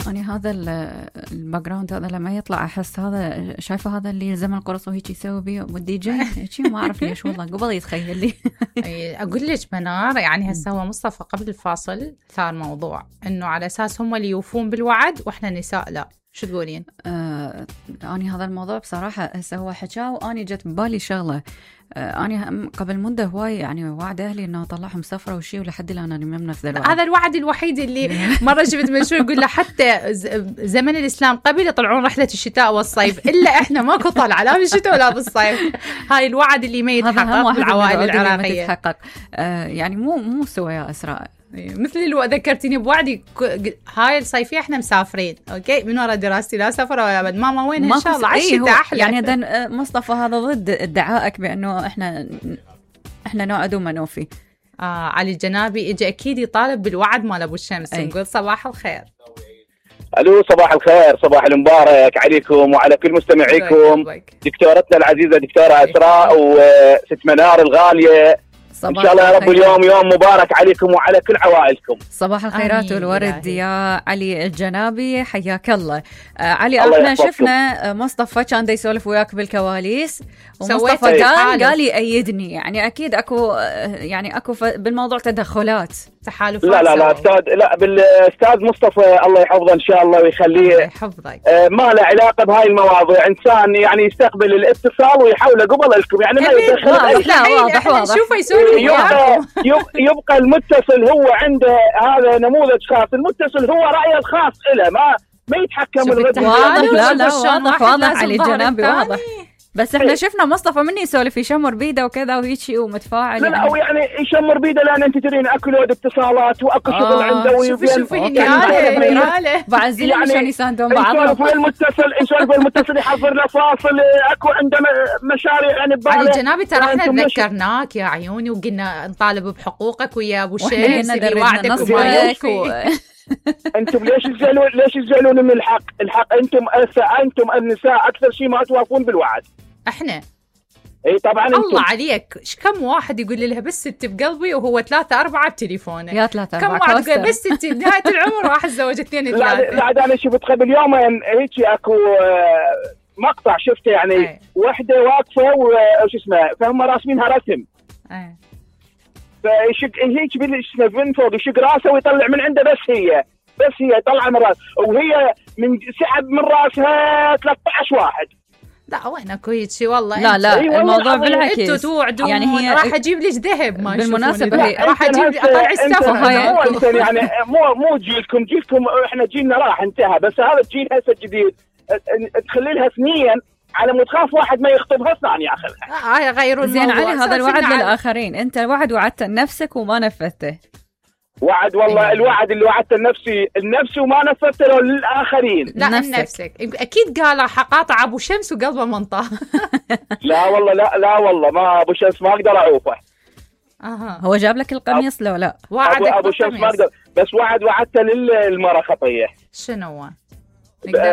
أنا هذا الباك جراوند هذا لما يطلع أحس هذا شايفة هذا اللي يلزم القرص وهيك يسوي بيه والدي جي شيء ما أعرف ليش والله قبل يتخيل لي. أقول لك منار يعني هسه هو مصطفى قبل الفاصل ثار موضوع إنه على أساس هم اللي يوفون بالوعد وإحنا النساء لا، شو تقولين؟ أنا هذا الموضوع بصراحة هسه هو حكاه وأني جت ببالي شغلة. أنا قبل مدة هواي يعني وعد أهلي إنه أطلعهم سفرة وشي ولحد الآن أنا ما بنفذ الوعد. هذا الوعد الوحيد اللي مرة شفت منشور يقول له حتى زمن الإسلام قبل يطلعون رحلة الشتاء والصيف إلا إحنا ماكو طلعة لا بالشتاء ولا بالصيف. هاي الوعد اللي ما يتحقق بالعوائل العراقية يتحقق. يعني مو سوى يا إسراء مثل اللي ذكرتيني بوعدي هاي الصيفية احنا مسافرين اوكي من وراء دراستي لا سفر ولا بد ماما وين ان شاء الله على الشتاء احلى. يعني اذا مصطفى هذا ضد ادعائك بانه احنا نوعد وما نوفي. علي الجنابي اجى اكيد يطالب بالوعد مال ابو الشمس. نقول صباح الخير. الو صباح الخير، صباح المبارك عليكم وعلى كل مستمعيكم. دكتورتنا العزيزة دكتورة أسراء وست منار الغالية، إن شاء الله يا رب اليوم يوم مبارك عليكم وعلى كل عوائلكم. صباح الخيرات والورد يا علي الجنابي، حياك الله. علي احنا شفنا مصطفى كان دا يسولف وياك بالكواليس ومصطفى قال يأيدني، يعني اكيد اكو بالموضوع تدخلات تحالفات. لا استاذ، لا بالاستاذ مصطفى الله يحفظه ان شاء الله ويخليه يحفظك. ما له علاقه بهاي المواضيع، انسان يعني يستقبل الاتصال ويحاوله قبل لكم، يعني ما يدخل. لا واضح شوفوا يسولف يبقى المتصل هو عنده هذا نموذج خاص، المتصل هو رأيه الخاص له، ما يتحكم الرد. لا واضح علي الجنابي واضح. بس احنا شفنا مصطفى مني يسولف يشمر بيده وكذا وهيجي ومتفاعل. لا او يعني يشمر بيده لان انت تدرين اكو لود اتصالات واكو شغل عنده. شوفي بعزين يعني شلون يساندون بعض. نسولف المتصل يحضر له فاصل، اكو عنده مشاريع يعني بباله. علي الجنابي ترى احنا ذكرناك يا عيوني وقلنا نطالب بحقوقك ويا ابو الشمس اللي وعدك وما يوفي. انتم ليش تزعلون من الحق؟ انتم النساء اكثر شيء ما توافقون بالوعد. احنا اي طبعا الله عليك. كم واحد يقول لها بس انت بقلبي وهو 3-4 بتليفونه. يا 3-4 كم واحد يقول بس انت بنهايه العمر راح اتزوج 2-3. لا انا شفت قبل يومين هيك اكو مقطع شفته يعني وحده واقفه وش اسمه فهم راسمينها رسم. فيشق هيك من فوق يشق راسه ويطلع من عنده بس هي طلع من راسه وهي من سحب من راسها 13 واحد. لا وين اكو هيك شيء والله. لا الموضوع بالعكس. انتوا توعدون يعني هي راح اجيب لك ذهب ما بالمناسبه راح اجيب اطلع السفر. يعني مو جيلكم احنا جيلنا راح انتهى، بس هذا الجيل هسه الجديد تخلي لها سنين على مود خاف واحد ما يخطبها الثاني ياخذها. غيرون زين علي هذا الوعد للآخرين، انت الوعد وعدته لنفسك وما نفذته. وعد والله الوعد اللي وعدته لنفسي وما نفذته للآخرين. لا لنفسك اكيد قال حقاطع ابو شمس وقلبه منطه. لا والله لا والله ما ابو شمس ما اقدر اعوفه. هو جاب لك القميص لو لا؟ ابو شمس ما اقدر، بس وعدته للمرأة خطيه. شنو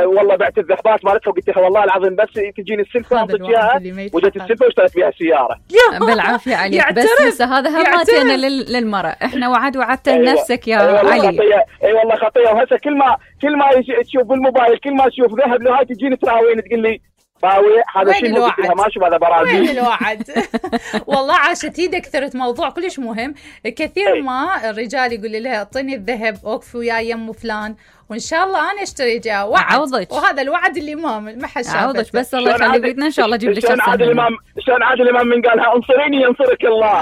والله بعت الذهبات مالتها وقلت لها والله العظيم بس تجيني السلفه اعطيك اياها، وجت السلفه واشتريت بها سياره. بالعافيه عليك. بس هذا هماتنا للمرأة. احنا وعدته لنفسك يا علي. اي والله خطيه. وهسه كل ما تشوف بالموبايل كل ما تشوف ذهب له هاي تجيني تراوين تقول لي باوي هذا شيء مو ما شوف هذا برازيل. وين الوعد؟ والله عاشت هي كثرت موضوع كلش مهم. كثير ما الرجال يقول لها اعطيني الذهب اوقفي وياي يم فلان وان شاء الله انا اشتري جاه وعد. وهذا الوعد اللي ما حد شافه. عوضك بس الله يخلي بيتنا ان شاء الله اجيب لك. شلون عادل امام من قالها انصريني ينصرك الله.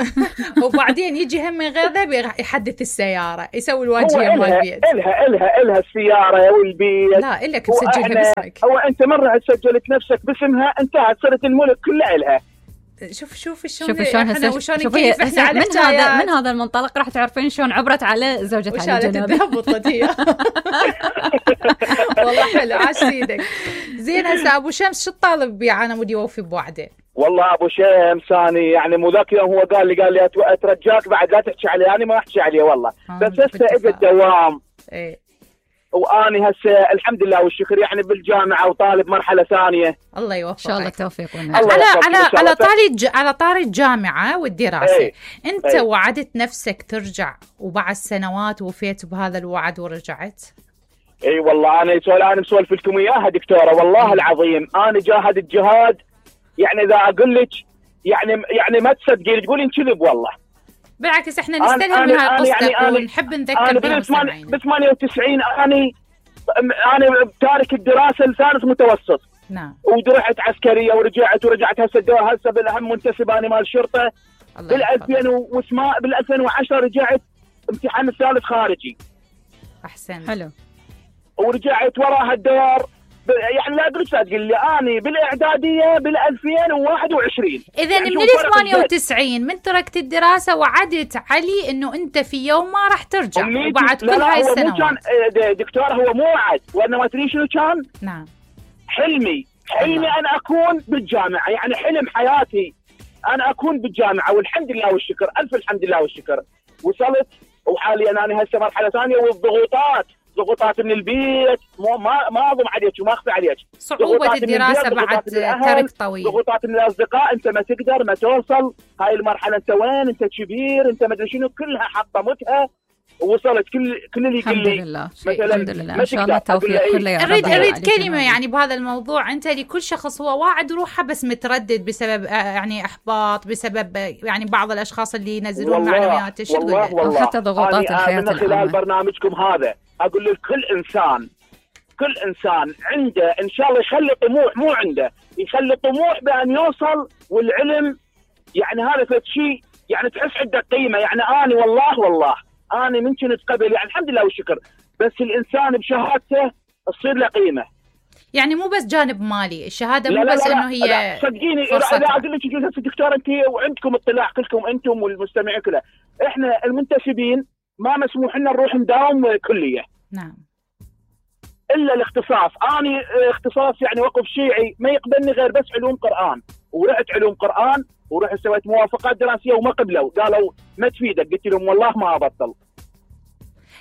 وبعدين يجي هم من غير ذهب يحدث السياره يسوي الواجهه مال البيت. الها السياره والبيت. لا الا بسجلها باسمك. هو انت مره سجلت نفسك باسمها انتهت صرت الملك كله الها. شوف شلون كيف احنا على من هذا المنطلق راح تعرفين شلون عبرت على زوجة علي الجنابي. وشالت هي. والله حلو عاش سيدك. زين هسه ابو شمس شو الطالب بيه انا مودي يوفي بوعده؟ والله ابو شمس ثاني يعني مو ذاك يوم هو قال لي اترجاك بعد لا تحكي علي. انا ما احكي عليه والله بس هسه اجى الدوام. واني هسه الحمد لله والشكر يعني بالجامعه وطالب مرحله ثانيه. الله يوفقك ان شاء الله التوفيق. على طاري الجامعه والدراسه. انت وعدت نفسك ترجع وبعد سنوات وفيت بهذا الوعد ورجعت؟ اي والله انا مسولف لكم اياها دكتوره، والله العظيم انا جاهدت جهاد، يعني اذا اقول لك يعني ما تصدقين، تقولين كذب والله. بالعكس احنا نستلهم من هاي قصتك ونحب نذكر بها مستمعينا. ب 98 انا تارك الدراسه لثالث متوسط. نعم. ورحت عسكريه ورجعت هسه بالاهم منتسب انا مال الشرطه. بال 2010 رجعت امتحان الثالث خارجي. احسن. حلو. ورجعت وراها الدوار، يعني لا ادري تقول لي اني بالاعداديه بال 2021. اذا يعني من ال 98 من تركت الدراسه وعدت علي انه انت في يوم ما راح ترجع وبعد كل هاي السنوات. هو مو كان دكتور، هو مو وعد، وانا ما ادري شنو كان. نعم. حلمي انا اكون بالجامعه، يعني حلم حياتي انا اكون بالجامعه، والحمد لله والشكر، الف الحمد لله والشكر وصلت. وحاليا انا هسه مرحله ثانيه، والضغوطات من البيت، ما اضم عليك وما اخفي عليك. صعوبه الدراسه بعد ترك طويل، ضغوطات من الاصدقاء، انت ما تقدر ما توصل هاي المرحله، انت وين، انت كبير، انت ما ادري شنو، كلها حطمتها ووصلت. كل اللي يقول لي الحمد لله ان شاء الله التوفيق كله يا رب. اريد كلمه يعني بهذا الموضوع، انت لكل شخص هو واعد روحه بس متردد بسبب يعني احباط، بسبب يعني بعض الاشخاص اللي ينزلون معلومات. شو تقول له؟ حتى ضغوطات الحياه من خلال برنامجكم هذا اقول لكل انسان عنده ان شاء الله يخلي طموح، مو عنده يخلي طموح بان يوصل، والعلم يعني هذا شيء يعني تحس عنده قيمه. يعني انا والله أنا من كنت قبل يعني الحمد لله والشكر، بس الإنسان بشهادته تصير له قيمة. يعني مو بس جانب مالي الشهادة، مو بس إنه هي صدقيني. لا أقول لك دكتور، أنت وعندكم اطلاع كلكم أنتم والمستمعين كله، إحنا المنتسبين ما مسموح لنا نروح نداوم كلية. نعم. إلا الاختصاص. أنا اختصاص يعني وقف شيعي ما يقبلني غير بس علوم قرآن، ورحت علوم قرآن ورحت سويت موافقات دراسية وما قبلوا، قالوا ما تفيدك. قلت لهم والله ما أبطل.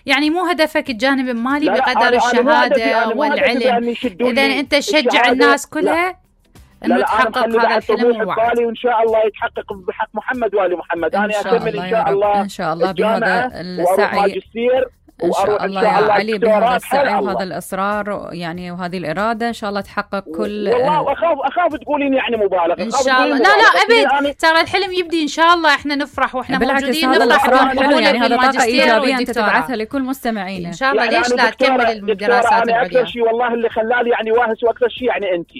يعني مو هدفك الجانب المالي بقدر الشهادة والعلم. إذا أنت تشجع الناس كلها إنه تحقق هذا الحلم والوعد، وإن شاء الله يتحقق بحق محمد وآل محمد. أنا أكمل إن شاء الله بهذا السعي. إن شاء الله يا علي بهذا السعي وهذا الإصرار يعني وهذه الإرادة إن شاء الله تحقق كل. والله أخاف تقولين يعني مبالغة. إن شاء الله. لا أبد، ترى الحلم يبدي إن شاء الله. إحنا نفرح وإحنا موجودين، نفرح حلو يعني هذا طاقة إيجابية أنت تبعثها لكل مستمعينا إن شاء الله. ليش لا تكمل الدراسات العليا؟ أكثر شيء والله اللي خلالي يعني واهس، وأكثر شيء يعني أنت.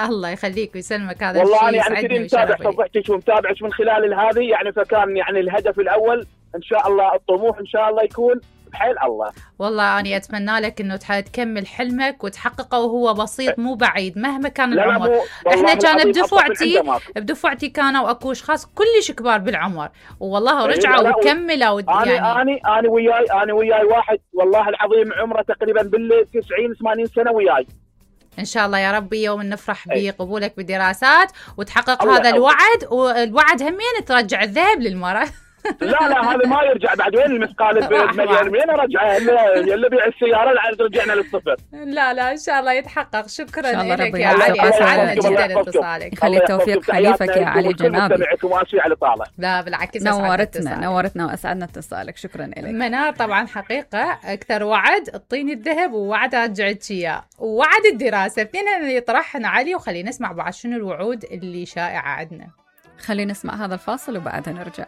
الله يخليك ويسلمك. هذا الشيء والله يعني كثير متابع صفحتك ومتابعك من خلال هذه يعني، فكان يعني الهدف الأول إن شاء الله الطموح إن شاء الله يكون بحيل الله. والله أنا أتمنى لك إنه تكمل حلمك وتحققه، وهو بسيط مو بعيد مهما كان العمر. إحنا كان بدفعتي كانوا أكو أشخاص كلش كبار بالعمر والله رجعوا وكملوا. يعني أنا وياي واحد والله العظيم عمره تقريبا بال90-80 سنة وياي. إن شاء الله يا ربي يوم نفرح بقبولك بدراسات وتحقق هذا الوعد، والوعد همين ترجع الذهب للمرأة. لا هذا ما يرجع بعد. وين المثقال بمليون؟ وين رجعه؟ اللي بيع السياره رجعنا للصفر. لا ان شاء الله يتحقق. شكرا لك يا علي، اسعدنا جدا اتصالك. خلي التوفيق حليفك يا علي جنابي. لا بالعكس، نورتنا واسعدنا اتصالك. شكرا لك منار. طبعا حقيقه اكثر وعد اعطيني الذهب، ووعد رجعت اياه، ووعد الدراسه، اثنين اللي يطرحن علي. وخلينا نسمع بعد شنو الوعود اللي شائعه عندنا. خلينا نسمع هذا الفاصل وبعدها نرجع.